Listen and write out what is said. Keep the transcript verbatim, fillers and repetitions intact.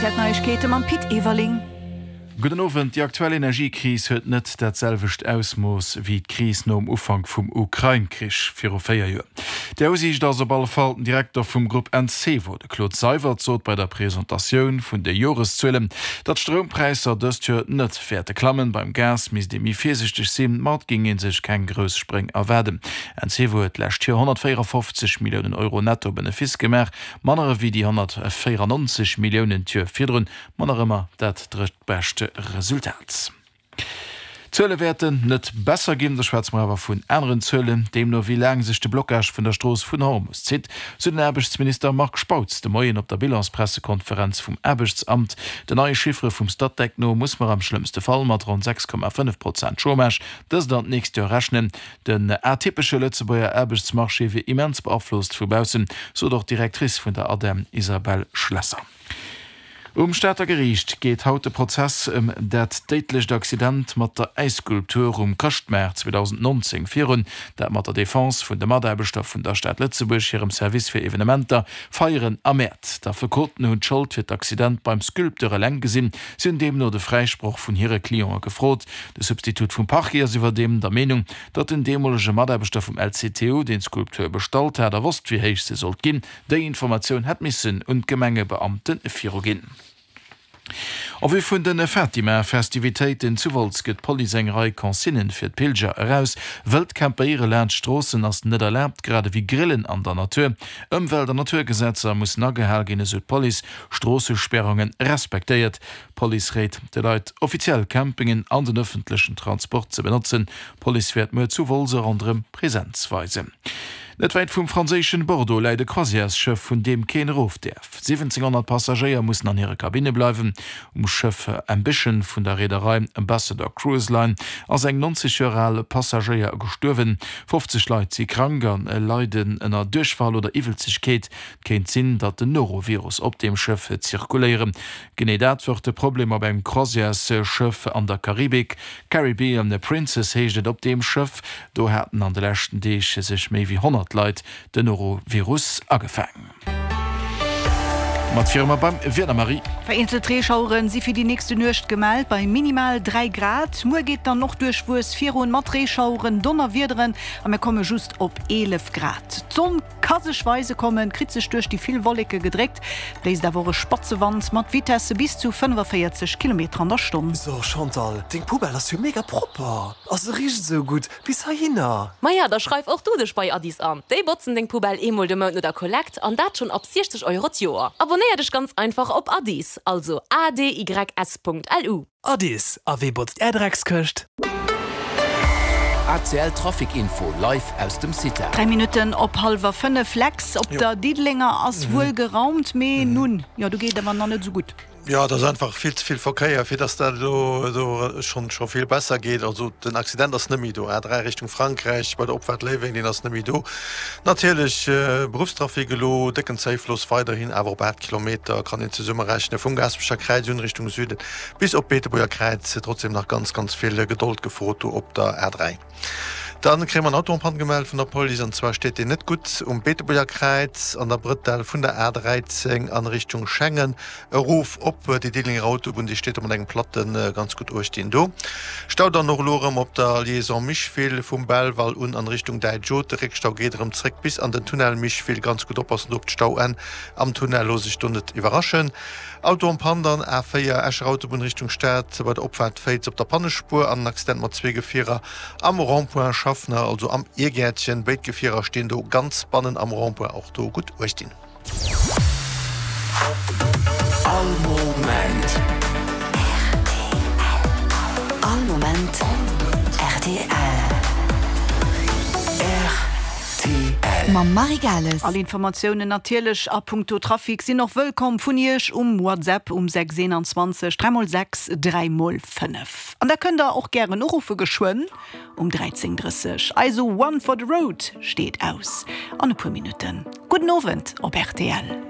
Neiegkeete mam Pit Everling. Gudden Owend. Déi aktuell Energiekris huet net dat selwecht Ausmooss wéi d'Kris nom Ufank vum Ukrain-Krich viru véier Joer. Déi Aussiicht ass op alle Fall den Direkter vum Grupp Encevo, de Claude Seywert, sot bei der Presentatioun vun de Joreszuelen, datt d'Stroumpräisser dëst Joer net wäerte klammen. Beim Gas misst ee méi virsiichteg sinn, ma et géing ee sech keng grouss Spréng erwaarden. Encevo huet d'lescht Joer honnertvéierafofzeg Milliounen Euro Netto-Benefice gemaach, manner ewéi déi honnertvéierannonzeg Milliounen d'Joer virdrun, ma nach ëmmer dat drëttbescht Resultat. D'Zuele wäerten net besser ginn, da schwätze mer awer vun aneren Zuelen, deemno wéi laang sech de Blockage vun der Strooss vun Hormus zitt, sou den Aarbechtsminister Marc Spautz de Moien op der Bilanspressekonferenz vum Aarbechtsamt. Den neie Chiffere vum Statec no muss mer am schlëmmste Fall mat ronn sechs Komma fënnef Prozent Chômage dëst an d'nächst Joer rechnen. Den atypesche Lëtzebuerger Aarbechtsmarché wier immens beaflosst vu baussen, sot och d'Directrice vun der ADEM Isabelle Schlesser. Um Stater Geriicht geet haut de Prozess ëm dat déidlecht Accident mat der Äisskulptur um Chrëschtmaart zweedausendnonzéng virun, dat mat der Defense vun de Mataarbechter vun der Stad Lëtzebuerg hirem Service fir Evenementer, Feieren a Mäert. D'Affekoten hunn d'Schold fir d'Accident beim Sculpteur eleng gesinn. Si hunn deemno de Fräisproch vun hire Cliente gefrot. De Substitut vum Parquet ass iwwerdeem der Meenung, datt den deemolege Mataarbechter vum L C T U, deen d'Skulptur bestallt hat a wosst, wéi héich se sollt ginn, déi Informatioun hätt missen un d'Gemengebeamte viruginn. En vue vun de Fatima-Festivitéiten zu Wolz gëtt d'Police eng Rei Consignen fir d'Pilger eraus. Wëllt Campéiere laanscht Stroossen ass net erlaabt, grad ewéi Grillen an der Natur. Ëmwelt an Naturgesetzer mussen agehal ginn, esou d'Police. Stroossesperrunge respektéiert. D'Police réit de Leit, offiziell Campingen an den ëffentlechen Transport ze benotzen. D'Police wäert muer zu Wolz a ronderëm Presenz weisen. Net wäit vum franséischen Bordeaux läit e Croisièresschëff, vun deem keen erof däerf. siwwenzénghonnert Passagéier mussen an hire Kabinne bleiwen. Um Schëff Ambition vun der Reederei Ambassador Cruise Line ass eng neunzeg Joer al Passagéier gestuerwen. fofzeg Leit si krank a leiden ënner Duerchfall oder Iwwelzegkeet. Et kéint sinn, datt den Norovirus op deem Schëff zirkuléiere. Genee dat wor de Problem op engem Croisièresschëff an der Karibik. Caribbean Princess heescht et op deem Schëff. Do haten an de leschten Deeg sech méi wéi honnert Leit den Norovirus agefaang. Mat viru mer beim Wieder, Marie. Vereenzelt Reeschaueren si fir déi nächste Nuecht gemellt, bei minimal dräi Grad. Muer geet dann och duerchwuess virun, mat Reeschaueren, Donnerwiederen a mir komme just op eelef Grad. D'Sonn ka sech weise kommen, kritt sech duerch déi vill Wolleke gedréckt, bléist awer och e spatze Wand mat Vitesse bis zu fënnefavéierzeg Kilometer an der Stonn. So Chantal, deng Poubelle ass jo mega propper a se richt esou gutt bis heihinner. Maja, da schreif och du dech bei Addis an. Déi botzen deng Poubelle eemol de Mount no der Kollekt an dat schonn ab siechzeg Euro d'Joer. Abonnéier dech ganz einfach op Addis, also A D Y S Punkt L U. Addis, a wee botzt är Dreckskëscht? A C L Trafic Info live aus dem CITA. Dräi Minutten op hallwer fënnef, Lex, op der Diddelenger ass wuel geraumt, mee nun, jo, do geet awer nach net esou gutt. Jo, et ass einfach vill ze vill Verkéier, fir dass dat elo do schonn scho vill besser geet. Also den Accident ass net méi do. A dräi Richtung Frankräich bei der Opfaart Léiweng, deen ass net méi do. Natierlech Beruffstrafic elo, décken Zéifloss weiderhin, awer op aacht Kilometer kann een zesummerechnen, vum Gaasperecher Kräiz un Richtung Süden bis op Beetebuerger Kräiz. Trotzdem nach ganz, ganz vill Gedold gefrot do op der A dräi. Dann kréie mer en Auto en panne gemellt vun der Police, an zwar steet deen net gutt um Beetebuerger Kräiz an der Brëtell vun der A dräizéng an Richtung Schengen erof op déi Diddelenger Autobunn. Déi steet do mat engem Platten, ganz gutt uecht deen do. Stau dann och elo erëm op der Liaison Micheville vum Belval un an Richtung Däitsch Haute. De Réckstau geet erëm zréck bis an den Tunnel Micheville. Ganz gutt oppassen do op d'Stauenn am Tunnel, looss sech do net iwwerraschen. Auto en panne dann A véier Escher Autobunn Richtung Stad bei der Opfaart Féiz op der Pannespuer an en Accident mat zwee Gefierer am Rond-point Schaffner, also am Irgäertchen. Béid Gefierer stinn do ganz bannen am Rond-point, och do gutt uecht dinn. All Moment. All Moment rtl. Rtl. Mam Marie Gales. All Informatiounen natierlech a punkto Trafic sinn och wëllkomm vun Iech um WhatsApp um sechs eenanzwanzeg dräi mol sechs dräi mol fënnef. An da kënnt der och gären uruffe geschwënn um dräizéng drësseg. Eise One for the Road steet aus an e puer Minutten. Gudden Owend op rtl.